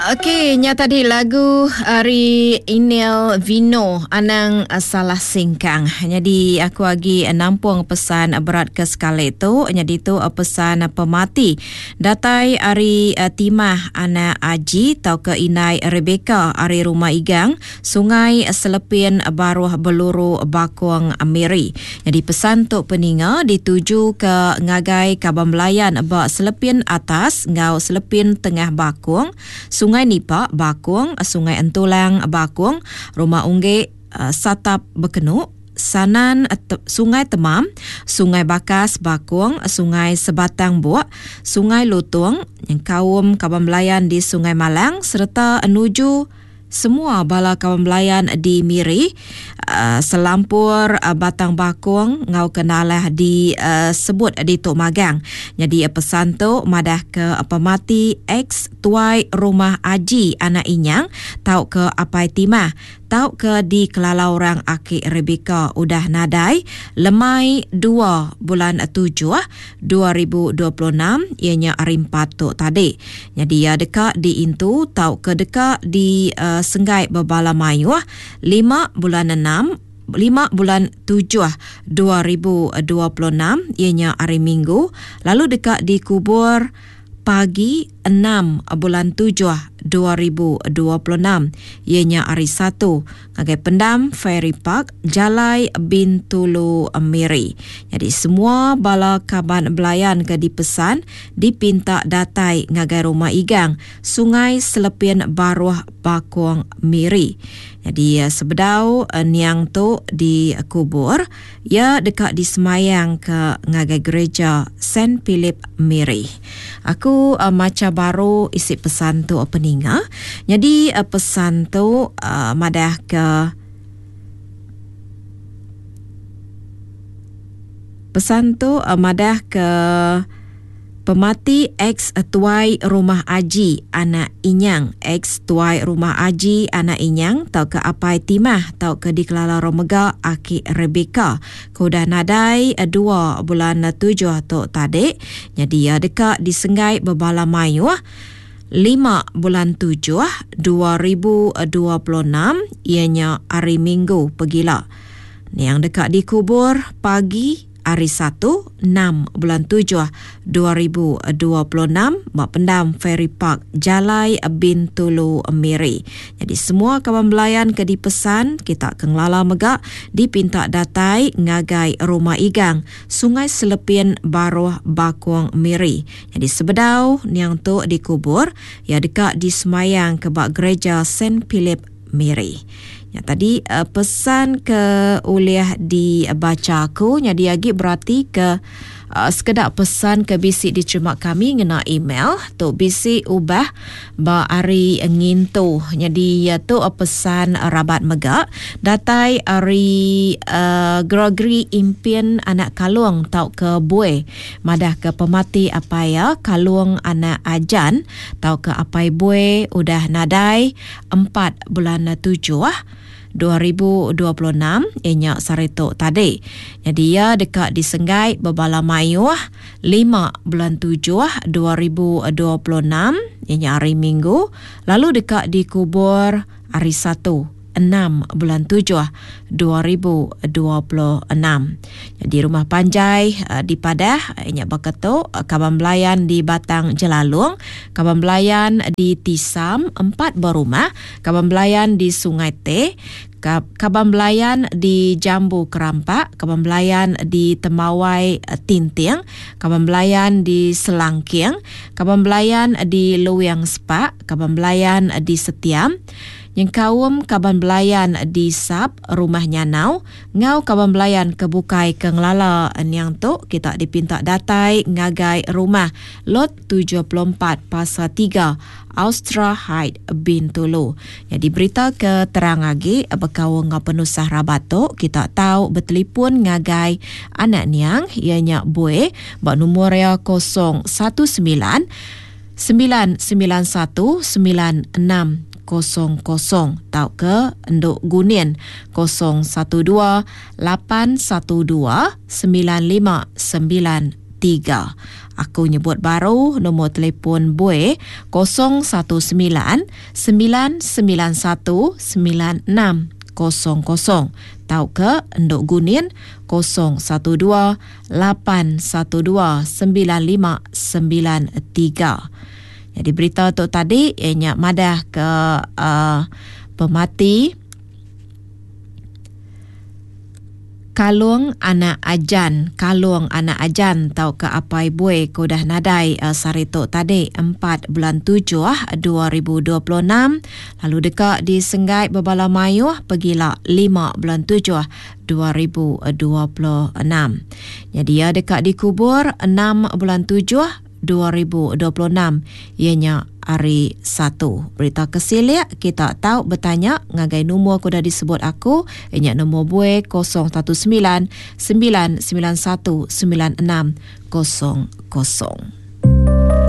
Okey, nya tadi lagu ari Inel Vino Anang Salah Singkang. Nyadi aku agi nampung pesan berat ke sekali tu. Nyadi tu pesan pemati datai ari Timah anak Aji tauka indai Rebecca ari Rumah Igang, Sungai Selepin Baruh Beluru Bakong Miri. Nyadi pesan tu peninga ditujuka ngagai kaban belayan ba Selepin Atas enggau Selepin Tengah Bakong, Sungai Nipa, Bakong, Sungai Entulang, Bakong, Rumah Unggek, Satap Bekenu, Sanan, Sungai Temam, Sungai Bakas, Bakong, Sungai Sebatang Buk, Sungai Lutong, nyengkaum kaban belayan di Sungai Malang sereta nuju Semua bala kaban belayan di Miri, selampur Batang Bakong enggau ke nalah disebut ditu magang. Nyadi pesan tu madahka pemati ex Tuai Rumah Aji anak Inyang tauka Apai Timah tauka dikelala orang Aki Rebecca udah nadai lemai dua bulan tujuh 2026 iya nya hari Empat tu tadi. Nyadi iya deka diintu tauka deka disenggai bebala mayuh lima bulan enam, lima bulan tujuh 2026 iya nya hari Minggu lalu deka dikubur pagi enam bulan tujuh 2026 iya nya hari Satu ngagai Pendam Fairy Park, Jalai Bintulu Miri. Nyadi semua bala kaban belayan ke dipesan dipinta datai ngagai Rumah Igang, Sungai Selepin Baruh Bakong Miri. Nyadi sebedau niang tu dikubur, iya deka disemayangka ngagai Gereja Saint Philip Miri. Aku macha baru isi pesan tu peninga. Nyadi pesan tu madahka pesan tu madahka Pemati ex Tuai Rumah Aji anak Inyang, ex Tuai Rumah Aji anak Inyang tauka Apai Timah tauka dikelala orang mega Aki Rebecca ke udah nadai dua bulan tujuh tu tadi nyadi iya deka disenggai bebala mayuh lima bulan tujuh 2026 iya nya hari Minggu pegila. Niang deka dikubur pagi Hari Satu, enam bulan tujuh 2026 ba Pendam Ferry Park, Jalai Bintulu, Miri. Nyadi semua kaban belayan ke dipesan kita ke ngelala mega dipinta datai ngagai Rumah Igang, Sungai Selepin Baruh Bakong, Miri. Nyadi sebedau niang tu dikubur, iya deka disemayang ke ba Gereja Saint Philip Miri. Nya tadi uh, pesan ke ulih dibaca aku nyadi agi berati ke uh, sekeda pesan ke bisi diterima kami ngena email tu bisi ubah ba hari ngintu. Nyadi uh, tu uh, pesan rabat mega datai ari uh, Gregory Impin anak Kalung tauka Bue madah ke pemati apai iya Kalung anak Ajan tauka apai Bue udah nadai empat bulan tujuh 2026 iya nya sehari tu tadi. Nyadi iya deka disenggai bebala mayuh lima bulan tujuh 2026 iya nya hari Minggu lalu deka dikubur hari Satu enam bulan tujuh 2026. Nyadi rumah panjai dipadah nya baka tu kaban belayan di Batang Jelalong, kaban belayan di Tisam empat buah rumah, kaban belayan di Sungai Teh, kaban belayan di Jambu Kerampak, kaban belayan di Tembawai Tinting, kaban belayan di Selangking, kaban belayan di Luing Sepak, kaban belayan di Setiam, nyengkaum kaban belayan di Sap, Rumah Nyanau, enggau kaban belayan ke bukai ke ngelala niang tu kita dipinta datai ngagai rumah Lot 74 Pasar tiga, Austra Height, Bintulu. Nyadi berita ke terang agi bekaul enggau penusah rabat tu kita tau betelipun ngagai anak niang iya nya Bui ba numur iya 019 991 9600 tauka Endu Gunin 012 812 9593. 3. Aku nyebut baru nombor telefon Bui 019 991 9600 tauka Endok Gunin 012 812 9593. Jadi berita tu tadi iya nya madah ke uh, pemati Kalung anak Ajan, Kalung anak Ajan tauka Apai Bui ke udah nadai sehari tu tadi empat bulan tujuh 2026 lalu deka disenggai bebala mayuh pegila lima bulan tujuh 2026. Nyadi iya deka dikubur enam bulan tujuh 2026 iya nya hari Satu. Berita ke silik kita tau betanya ngagai numur ke udah disebut aku iya nya numur buai 019 991 9600.